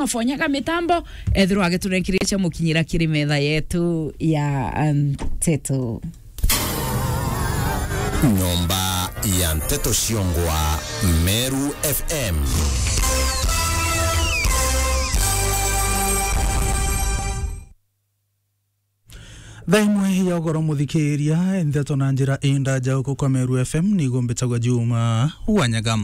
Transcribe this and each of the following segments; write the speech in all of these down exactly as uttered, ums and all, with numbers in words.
Mafonyaga mitambo, ethirwa agiturenkiriria mukinyira kiri metha yetu ya, um, nteto. Nyomba ya nteto ciongwa Meru F M. Thaa imwe ya ugoro muthikiria, nteto na njira indaja uku kwa Meru F M, nigo mbitagwa Juma Wanyaga.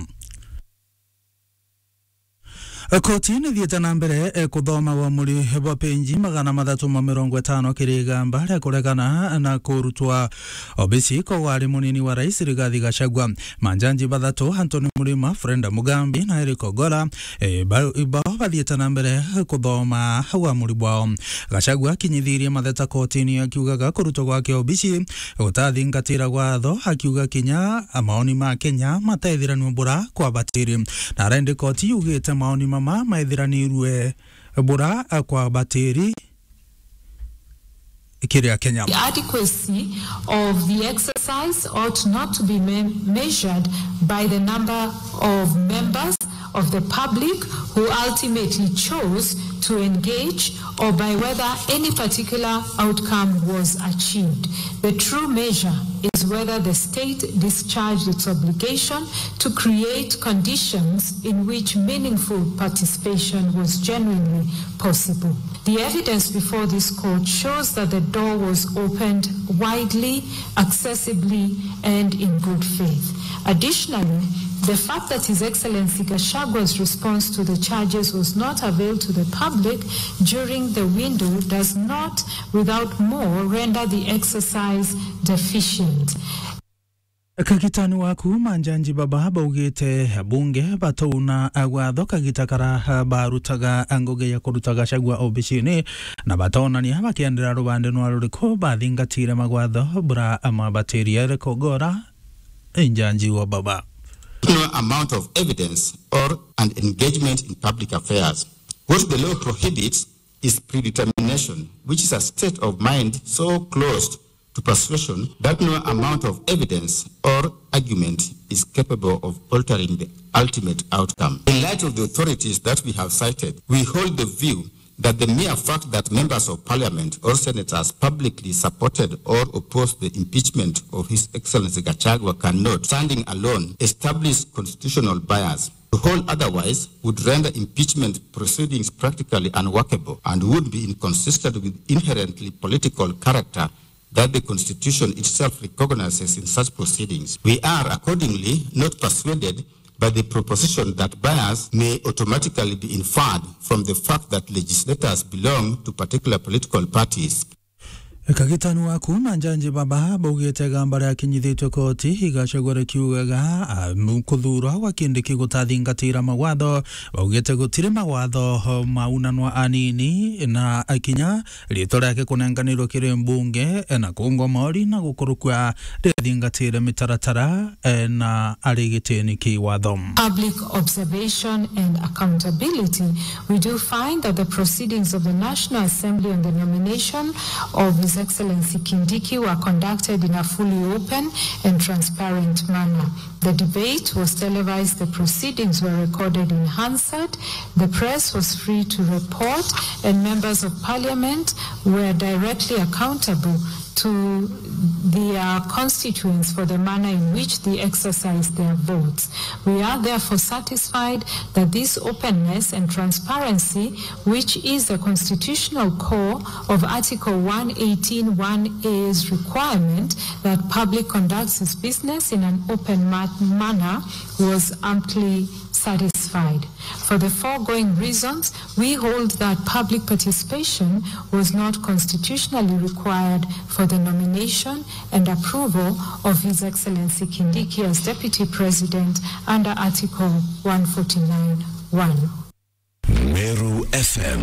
Koti nithiite na mbere, eh, kuthoma uamuri bwa penji magana mathatu ma mirongo itano kiri igamba ria kuregana na kurutwa obisi kwa wari munini wa rais Rigathi Gachagua. Manjanji bathatu, Anthony Murima, Freda Mugambi na Eric Ogolla, eh, ba-, bao bathiite na mbere kuthoma uamuri bwao. Gachagua akinyithirie matheta kotini akiugaga kurutwa gwake obisi gutathingatira watho, akiuga kinya maoni ma Kenya mataithiranua bura kwabatiri. Na arendi koti yugite maoni mama maithiranirue bura kwabatiri kiri Akenya. The adequacy of the exercise ought not to be me-, measured by the number of members of the public who ultimately chose to engage or by whether any particular outcome was achieved. The true measure is whether the state discharged its obligation to create conditions in which meaningful participation was genuinely possible. The evidence before this court shows that the door was opened widely, accessibly, and in good faith. Additionally, the fact that His Excellency Gachagua's response to the charges was not availed to the public during the window does not, without more, render the exercise deficient. Kagitani waku, manjanji baba baugite bunge batauna watho kagita kara barutaga ngugi ya kuruta Gachagua obisini, na batonania bakiendera rubande nwa ruriku bathingatire magwatho bura amabatiria. Eric Ogolla, njanji wa baba. No amount of evidence or an engagement in public affairs. What the law prohibits is predetermination, which is a state of mind so close to persuasion that no amount of evidence or argument is capable of altering the ultimate outcome. In light of the authorities that we have cited, we hold the view that the mere fact that members of parliament or senators publicly supported or opposed the impeachment of His Excellency Gachagua cannot, standing alone, establish constitutional bias. To hold otherwise would render impeachment proceedings practically unworkable and would be inconsistent with inherently political character that the Constitution itself recognizes in such proceedings. We are accordingly not persuaded by the proposition that bias may automatically be inferred from the fact that legislators belong to particular political parties. Kagitani waku, manjanji baba baugite igamba riakinyithitue koti i Gachagua rikiugaga, ah, kuthurwa gwa Kindiki gutathingatira mawatho. Baugite gutiri mawatho maunanwa anini na akinya ritwa riake kunenganirwe kiri mbunge, eh, na kungwa mori na gukurukua rithingatire mitaratara, eh, na ari gitini ki watho. Public observation and accountability, we do find that the proceedings of the National Assembly on the nomination of His Excellency Kindiki were conducted in a fully open and transparent manner. The debate was televised, the proceedings were recorded in Hansard, the press was free to report, and members of parliament were directly accountable to their constituents for the manner in which they exercised their votes. We are therefore satisfied that this openness and transparency, which is the constitutional core of Article one eighteen one A's requirement that public conducts its business in an open ma-, manner, was amply satisfied. For the foregoing reasons, we hold that public participation was not constitutionally required for the nomination and approval of His Excellency Kindiki as Deputy President under Article one forty-nine one. Meru F M,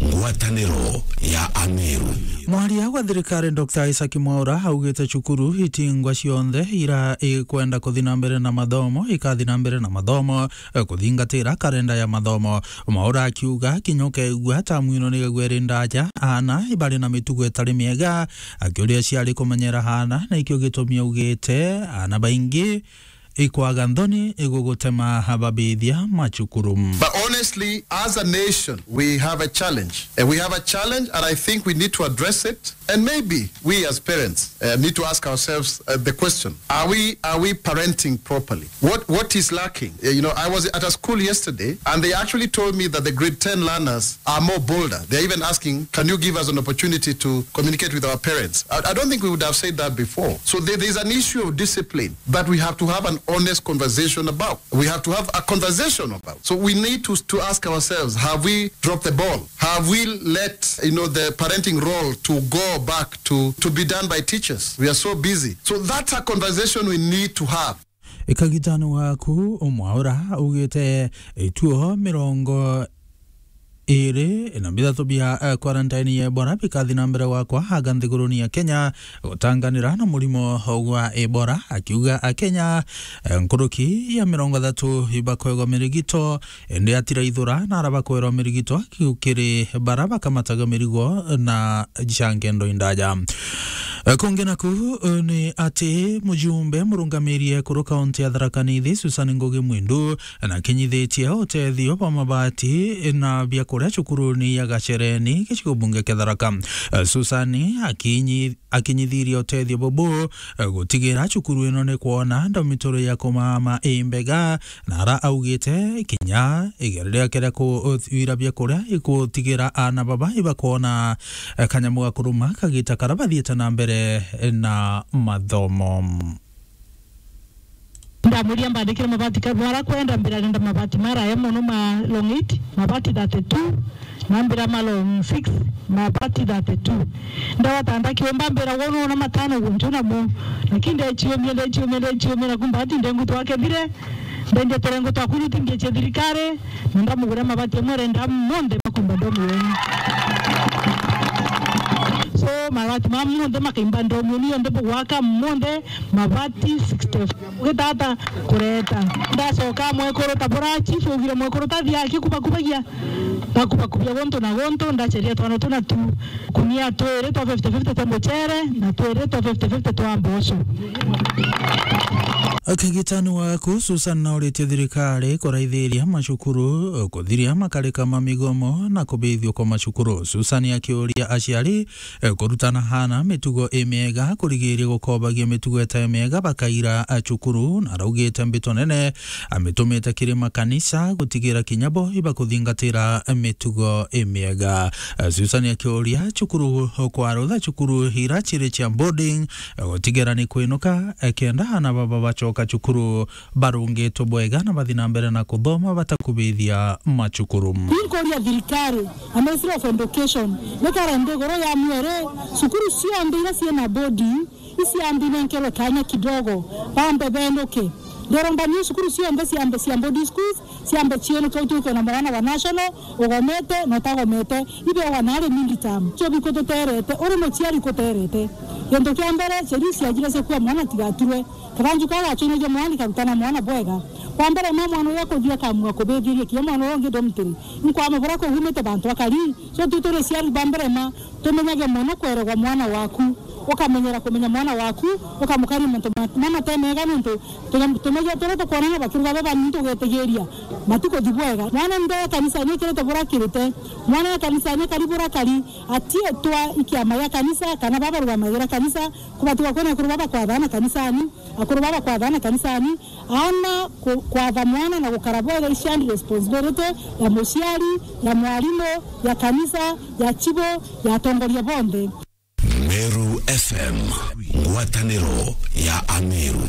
ngwataniro ya Ameru. Mwaria wa thirikari Doctor Isaac Mwaura augite cukuru itingwa cionthe ira ikwenda kuthi na mbere na mathomo ikathi na mbere na mathomo, eh, kuthingatira karenda ya mathomo. Mwaura akiuga kinya ukeigua tamu ino nigagua iri ndaja, aana ibari na mitugo itari miega, akiuria aciari kumenyera aana, na ikio gitumi augite aana baingi ikwaga nthoni igugutema babithia macukuru. But honestly, as a nation, we have a challenge. And we have a challenge, and I think we need to address it. And maybe we as parents, uh, need to ask ourselves, uh, the question, are we, are we parenting properly? What, what is lacking? Uh, you know, I was at a school yesterday, and they actually told me that the grade ten learners are more bolder. They're even asking, "Can you give us an opportunity to communicate with our parents?" I, I don't think we would have said that before. So there, there's an issue of discipline that we have to have an honest conversation about. We have to have a conversation about. So we need to, to ask ourselves, have we dropped the ball? Have we let, you know, the parenting role to go back to, to be done by teachers? We are so busy. So that's a conversation we need to have. Ikagitano gaku, Mwaura augite ituo mirongo iri na bithatu bia, eh, quarantine ya Ebola bikathi na mbere gwakwa aga nthiguruni ya Kenya gutanganira na murimo gwa Ebola, akiuga Akenya, eh, nkuruki ya mirongo ithatu ibakwegwa mirigito, indi atiraithura na ara bakwerwa mirigito akiu kiri bara bakamataga mirigo na cia ngendo indaja. Eh, kungi naku, eh, ni ati mujumbe murungamiri ekuru kaunti ya Tharaka Nithi, Susan Ngugi Mwindu, na kinyithitie utethio bwa mabati na biakuria cukuruni ya Gachereni, gicigo bunge kia Tharaka. Eh, Susan akinyi-, akinyithirie utethio bubu, eh, gutigira cukuru ino ni kwona dormitory ya kumama imbega, na ara augite kinya igere riake ria kuthwira biakuria ikutigira ana baba ibakwona, eh, kanyamu ga kuruma kagita kara bathiite na mbere na mathomo. Ndamwiria mbandikire mabati ka-, bara kwenda mbira ndenda mabati maraya mono ma long eight, mabati thirty-two, na mbira ma long six, mabati thirty-two. Ndawatanda kiumba mbira wona ona matano guntu namo. Lakini ndechiumia, ndechiumia, ndechiumia, na kumba ati ndengu twakethire, ndendia turengo twa kuruti ngeche thirikari, na ndamugura mabati amwe renda monthe makumba ndomu yenu. So, mabati ma monthe makaimba ndomu yenu yonthe bugwaka monthe, mabati sixty-four. Ugitata kureta. Ndacoka mwekuru ta bura chief ugire mwekuru ta thia akikubakubagia. Ndakubakubia guntu na guntu, ndacheria twana tuna tu. Kunia twiri twa fifty fifty twa muchere na twiri twa fifty fifty twa mboco. Akigitani waku, Susan nauritie thirikari kuraithiria macukuru kuthiria makarika ma migomo na kubithio kwa macukuru. Susan akiuria aciari eh, kurutana hana mitugo imiega, kurigiria gukobagia mitugo itai miega bakaira, eh, cukuru, na araugite mbito nene amitumite kiri makanisa gutigira kinya bo ibakuthingatira mitugo imiega. Eh, Susan akiuria cukuru kwarutha cukuru ira ciri cia boarding, eh, gutigira ni kwinuka, eh, kenda ana baba bacoka cukuru barungitwe bwega na bathi na mbere na kuthoma batakubithia macukuru. Inkuria thirikari na Ministry of Education nikara nthiguru ya mwere, cukuru cionthe iria ciina boarding iciambi nenkerwe kanya kidogo, bambe benuke. Ndiromba niu cukuru cionthe ciambe cia boarding schools, ciambe cienuke, utuike na mwana wa national, ugomete na utagomete, ibewa nari mid term. Cio bikututerete, uri muciari kuterete. Gintu kia mbere, cieri ciajire cia kuua mwana tigaturwe. Kaganju kau gacoinagia mwana karutana mwana bwega. Kwa mbere ma mwana uria kuthia kamua kubithiria kinya mwana uria ungi dormitory. Inkwama bura kugumite bantu akari. So tu turi ciari ba mbere ma tumenyage mono kweregwa mwana waku. Ukamenyera kumenya mwana waku, ukamukaria mantu ma-, ma mate mega nontu tuge-, tumegia turia tukwonana bakiruga baba ni tugetigiria matikuthi bwega. Mwana nde kanisa ni kirite bura kirite. Mwana ya kanisa ni kari bura kari. Atietwa ikiama gia kanisa kana baba rugamagira kanisa. Kubatiga kwona akuru baba kwathana kanisani, akuru baba kwathana kanisani, ana ku-, kwatha mwana na gukara bwega i shared responsibility ya muciari, ya mwarimu, ya kanisa, ya chibo, ya atongoria bonthe. Meru F M, ngwataniro ya Ameru.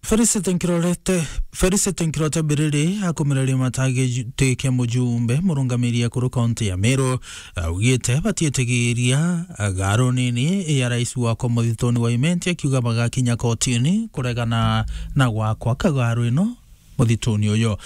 Felicity Nkirorete, Felicity Nkirorete Biriri akumireria matagi ju-, ti kia mujumbe murungamiri ekuru kaunti ya Meru, augite batietigiria garu nini ya rais wako muthituni wa Imenti, akiuga bagakinya kotini kuregana na gwakwa kagaru ino muthituni uyu.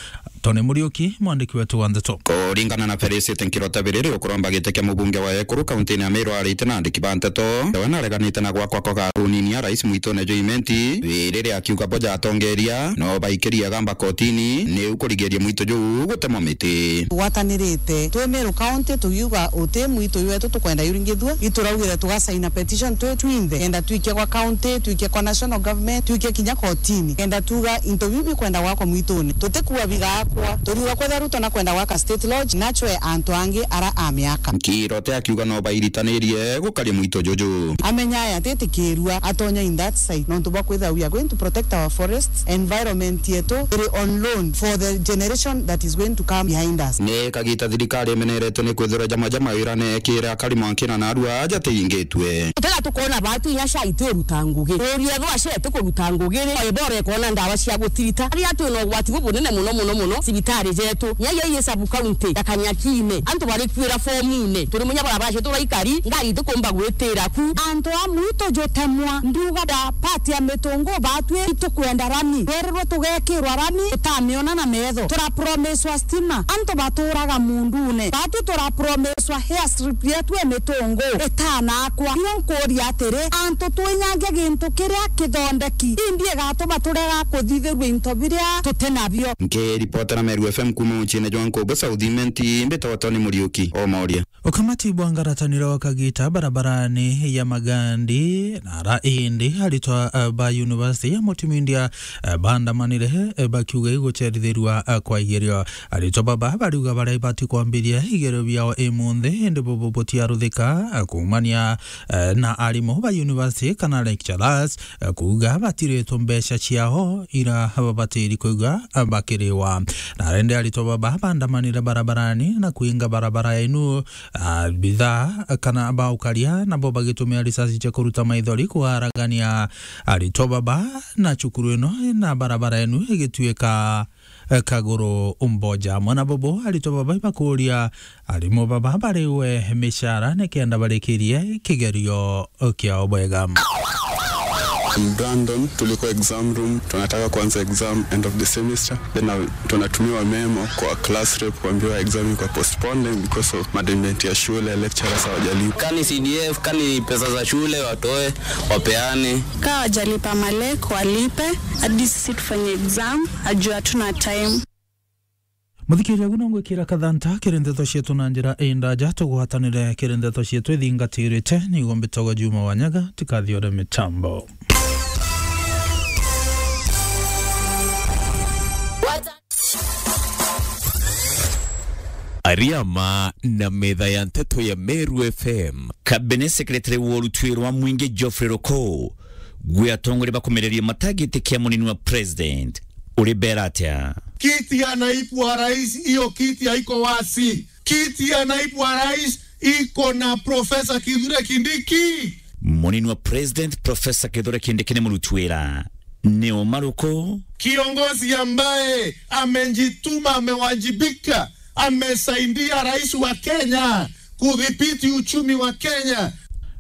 Tony Muriuki, mwandiki wetu wa ndeto. Kuringana na Felicity Nkirota Biriri, ukuromba giti kia mubunge wa Ekuru kaunti-ini ya Meru, arite na andiki ba nteto, we nareganite na gwakwa kwa karunini ya rais mwitune juu Imenti, riria akiuga boja atongeria no baikirie gamba kotini, niu kurigiria mwito juu gutemwa miti. Tugwatanirite twi Meru County, tugiuga uti mwito juu wetu tukwenda juringithua, ituraugire tugasaina petition twi twinthe, kenda twikie kwa county, twikie kwa national government, twikie kinya kotini, kenda tuga into biu bikwenda gwakwa mwitune. Tutikua bigakwa, turiuga kwethira Ruto nakwenda gwaka State Lodge, nachwe antu angi ara amiaka. Nkirote akiuga no bairitanirie gukaria mwito juju. Amenya aya atitikirua atonya in that side, nontu bwa kwithira we are going to protect our forests, environment yetu iri on loan for the generation that is going to come behind us. Ni kagita thirikari imeneretwe ni kwithirwa jama jama wira nekira akari mwankina na arua aja tiingitwe. Tega tukona batu inya cai ti uruta ngugi. Uria thwa cete kuruta ngugi ri, ebora ikona ndawa cia gutirita. Aria twina ugwati bubunene muno muno muno cibitari jetu. Nya ya sub county ya Kanyakine, antu bari kwira fomune. Turi munya bara bacio turaikari, ngari itikumba gwitira ku. Antu a mwito jutemwa, nduga da pati ya mitungu batwi itukwenda rami. Twererwe tugekirwa rami, tutamiona na metho. Turapromiswa stima, antu baturaga mundune. Batu turapromiswa airstrip yetu e mitungu itanakwa. Ino nkuria atiri, antu twinyange gintu kiria kithondeki, indi igatuma turega kuthithirua into biria tuti nabio. Nkiripotera Meru F M kuuma muciine jwa Nkubu South Imenti, mbitagwa Tony Muriuki, Omoria. Ukamati bwa ngarataniro kagita barabarani ya Magandi, na ara indi aritwa, eh, ba University ya Mutimindia, eh, baandamanire, eh, bakiuga igucerithirua, eh, kwa igerio. Aritwa baba bariuga baria ibati kwambiria igerio biao imunthi, indi bubu butiaruthika, eh, kuumania, eh, na arimu ba university kana lecturers, eh, kuuga batiritwe mbeca ciao ira babatiri kuuga, eh, bakiriwa. Na rende aritwa baba baandamanire barabarani na kuinga barabara inu, ah, bithaa kana baukaria, nabo bagitumia risasi cia kuruta maithori kuaragania aritwa baba na cukuru ino na barabara inu igituika, eh, kaguru mboja. Mwana bobo aritwa baba ibakuria arimu baba bariwe micara nikenda barikirie kigerio kiao bwega. Brandon, tulikuwa exam room, tunataka kuanza exam end of the semester. Then I Tunatumiwa memo kwa class rep kuambiwa exam iko postponed because of management ya shule, lecturers hawajalipa. Kani C D F, kani pesa za shule watoe, wapeane. Kaa wajalipa malek, walipe, hadi sisi tufanye exam, ajua hatuna time. Muthikiria, guno ngwikira kathanta kiri ndeto cietu na njira indaja, tugwatanire kiri ndeto cietu ithingatirite. Niguo mbitagwa Juma Wanyaga, tikathiore mitambo. Ariama na metha ya nteto ya Meru F M. Cabinet Secretary wa urutwi rwa mwingi Geoffrey Ruku, gwi atongoria bakumereria matagitikia munini wa president, uri bera atia? Kiti ya naibu wa rais, hiyo kiti haiko wazi. Kiti ya naibu wa rais iko na Professor Kithure Kindiki. Munini wa president, Professor Kithure Kindiki ni murutwi wira. Ni uma ruku? Kiongozi ambaye amejituma, amewajibika, amesaidia rais wa Kenya kudhibiti uchumi wa Kenya.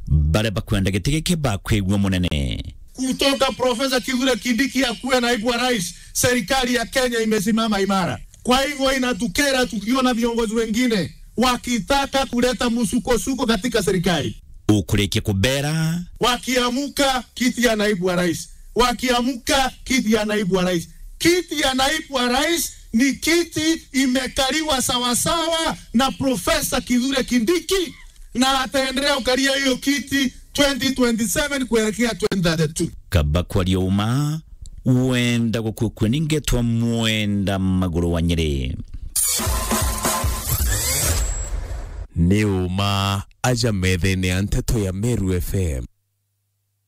Baria bakwenda giti giki bakwigua munene. Kutoka Professor Kithure Kindiki akuwe naibu wa rais, serikali ya Kenya imesimama imara. Kwa hivyo inatukera tukiona viongozi wengine wakitaka kuleta msukosuko katika serikali. Ukurikia kubera. Wakiamuka kiti ya naibu wa rais, wakiamuka kiti ya naibu wa rais. Kiti ya naibu wa rais ni kiti imekaliwa sawasawa na Professor Kithure Kindiki, na ataendelea kukalia hiyo kiti twenty twenty-seven kuelekea twenty thirty-two. Kaba kwaria uma, wenda gukua kue ni ngetwa Mwenda Maguru wa Nyeri. Ni uma aja methene ya nteto ya Meru F M.